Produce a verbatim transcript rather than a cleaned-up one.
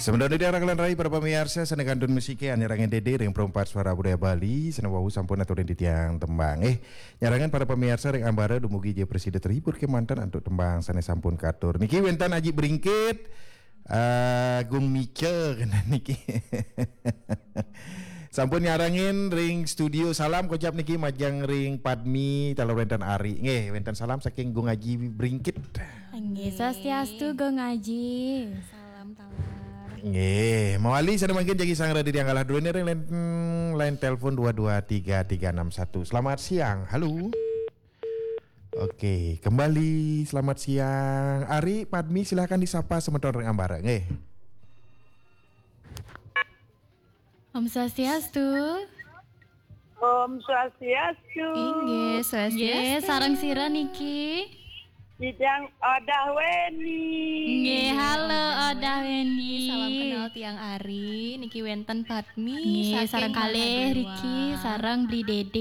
Sementara di arah kalian rai para pemirsa, sané kantun musik nyarengin Dédé ring Perumpat Suara Budaya Bali, sané wau sampun aturin titiang tembang. Eh, nyarengin para pemirsa ring ambara dumugi ja prasida terhibur kémanten antuk tembang sané sampun katur. Niki wénten Aji Bringkit, eh, Gung Mica kénten niki. Sampun nyarengin ring studio, salam kocap niki majeng ring Padmi, taler wénten Ari. Nggih, wénten salam saking Gung Aji Bringkit. Nggih, swastiastu Gung Aji. Salam taler. Nggih, mawali sané mangkin jagi sang radi tiang kalah dulu ring line, line telepon dua dua tiga tiga enam satu. Selamat siang. Halo. Oke, kembali selamat siang. Ari, Padmi, silahkan disapa semeton ring ambara. Nggih. Om Swastiastu. Om Swastiastu. Inggih, swastiastu. Nggih, sareng sira niki? Titiang Odah Weni. Nggih, halo Odah Weni. Salam kenal tiang Ari, niki wénten Padmi. Nggih, saking sareng kalih Mangga Riki, Dua. Sareng Bli Dédé.